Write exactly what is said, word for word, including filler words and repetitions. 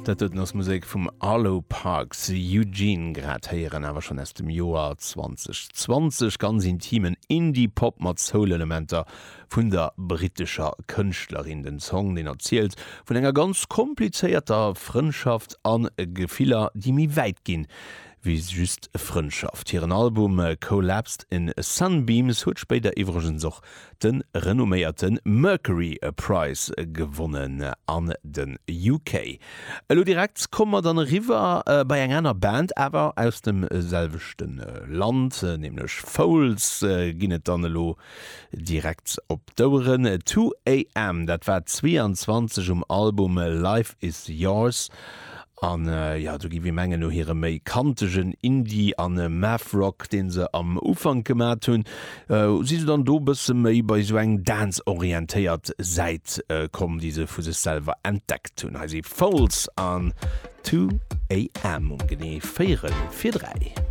Dat doten ass Musek vum Arlo Parks Eugene grad héieren awer schonn aus dem Joer zweedausendzwanzeg, ganz intimen Indie-Pop mat Soul-Elementer vun der brittescher Kënschtlerin. Den Song deen erzielt vun enger ganz komplizéierter Frëndschaft an Gefiller déi méi wäit ginn wéi just Frëndschaft. Hiren Album Collapsed in Sunbeams huet spéider iwwregens och de renomméierte Mercury Prize gewonnen an den U K. Elo direkt komme mer dann eriwwer äh, bei eng aner Band awer aus dem selwechte Land, äh, nämlech Foals äh, ginn et dann elo direkt op d'Oueren two A M, dat war zweeanzwanzeg um Album Life is Yours an äh, ja do gi mir mengen no hire méi kantegen Indie an äh, Math Rock den se am Ufank gemat hunn äh, si se dann do bësse méi bei sou eng Dance orientéiert Säit äh, komm déi se vu sech selwer entdeckt hunn. Hei si Foals an two A M um genee véierel vir dräi.